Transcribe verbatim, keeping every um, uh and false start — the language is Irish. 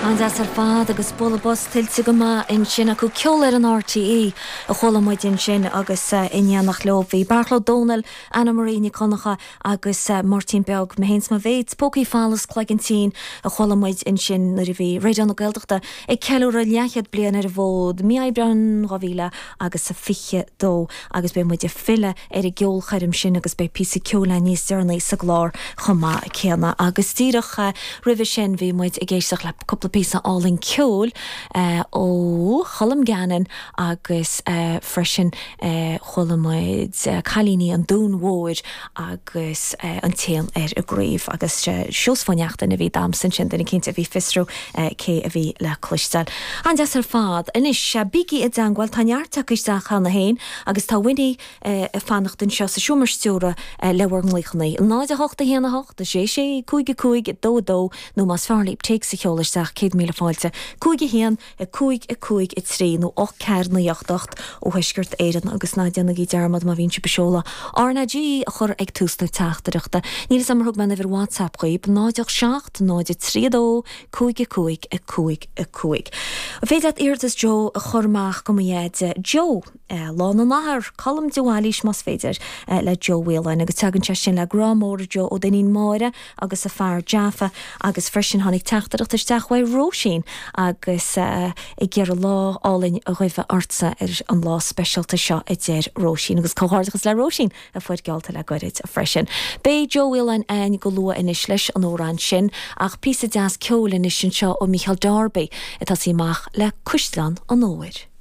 An-deas ar fad agus bualadh bos tuillte go maith ansin acu ceol ar an RTÉ a chuala muid ansin agus in éineacht leo bhí Beairtle Ó Domhnaill, Anna Marie Nic Dhonncha agus Máirtín Beag Mé Féin 's Mo Mhéit, Pócaí Folamh Cloigeann Tinn a chuala muid ansin nuair a bhí Raidió na Gaeltachta ag ceiliúradh leathchéad bliain ar an bhfód, mí Aibreáin dhá mhíle agus a fiche dó agus beidh muid ag filleadh ar an gceolchoirm sin agus beidh píosa ceoil níos deireanaí sa gclár chomh maith céanna agus díreach roimhe sin bhí muid ag éisteacht le cúpla píosa álainn ceoil ó Cholm Gannon agus freisin chuala muid Cailíní an Dúin Mhóir agus an t-éan ar an gcraobh agus Seosamh Ó Neachtain a bhí damhsa ansin duine éicint a bhí fiosrú cé a bhí le cloisteáil. An-deas ar fad. Anois bígí i dteagmháil tá neart tagtha isteach cheana féin agus tá Winnie ag fanacht anseo sa seomra stiúrtha le bhur nglaochanna. Náid a hocht a haon a hocht a sé sé cúig a cúig dó a dó nó más fearr libh téacs a sheoladh isteach céad míle fáilte cúig a haon a cúig a cúig a trí nó ocht ceathair naoi ocht ocht ó Thuaisceart Éireann agus ná déanaigí dearmad má bhíonn sibh ag seoladh RnaG a chur ag tús na teachtaireachta. Níl a fhios agam ar thug mé an uimhir WhatsApp dhaoibh náid ocht seacht náid a trí a dó cúig a cúig a cúig a cúig. An féidir leat iarratas Joe a chur amach go mo dheaide Joe Lá na nAthar, Colm de Bhailís más féidir le Joe Whelan agus tagann sé sin le grá mór Joe ó d'iníon Máire agus a fear Jaffa agus freisin tháinig teachtaireacht isteach uaidh Róisín agus ag iarraidh lá álainn a ghuí ortsa ar an lá speisialta seo a deir Róisín agus comhghairdeachas le Róisín a fuair geallta le gairid freisin. Beidh Joe Whelan againn go luath anois leis an amhrán sin ach píosa deas ceoil anois anseo ó Micheál Darby atá sí amach le Cuisleán an Fhómhair.